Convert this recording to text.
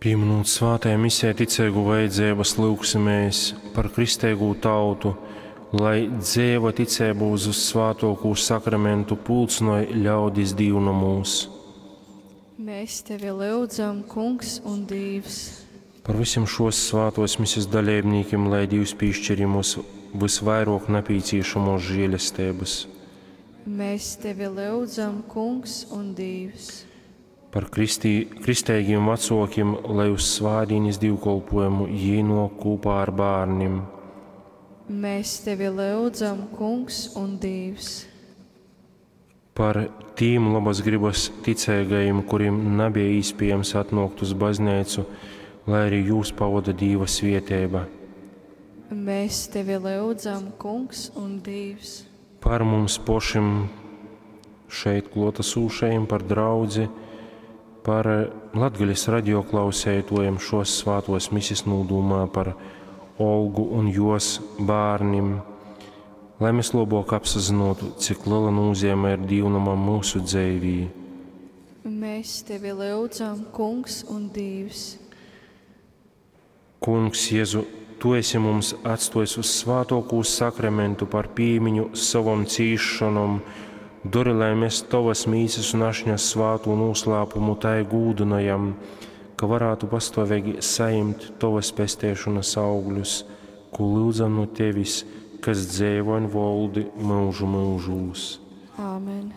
Pīminūt svātajā misē ticeigu vajadzeibas, lyugsimēs par kristeigū tautu, lai dzeiva ticeiba uz vyssvātōkū Sakramentu pulcynoj ļaudis dīvnomūs. Mēs tevi lyudzam, Kungs un Dīvs. Par vysim šōs svātōs mises daleibnīkim, lai Dīvs pīškir jim vysvairōk napīcīšamōs želesteibas. Mēs tevi lyudzam, Kungs un Dīvs. Par kristī, kristeigim vacōkim, lai uz svātdīnes dīvkolpōjumu jī nōk kūpā ar bārnim. Mēs tevi lyudzam, Kungs un Dīvs. Par tīm lobas gribas ticeigajim, kurim nabeja īspējams atnōkt uz bazneicu, lai arī jūs pavoda Dīva svieteiba. Mēs tevi lyudzam, Kungs un Dīvs. Par mums pošim šeit klōtasūšajim, par draudzi, par Latgales radioklausētojiem šos svātos misis nūdūmā par Olgu un jos bērnim, lai mēs labāk apsazinotu, cik liela nozīme ir dīvnamam mūsu dzīvī. Mēs tevi lyudzam, Kungs un Dīvs. Kungs, Jēzu, tu esi mums atstājis uz svātōkū sakramentu par pīmiņu savom cīšanom, dori, lai mēs tavas mīsas un ašņa svātū noslēpumu tai gūdynojam, ka varētu pastāvīgi saņemt tavas pestēšanas augļus, ko lūdzam no tevis, kas dzeivo un valdi mūžu mūžūs. Āmen.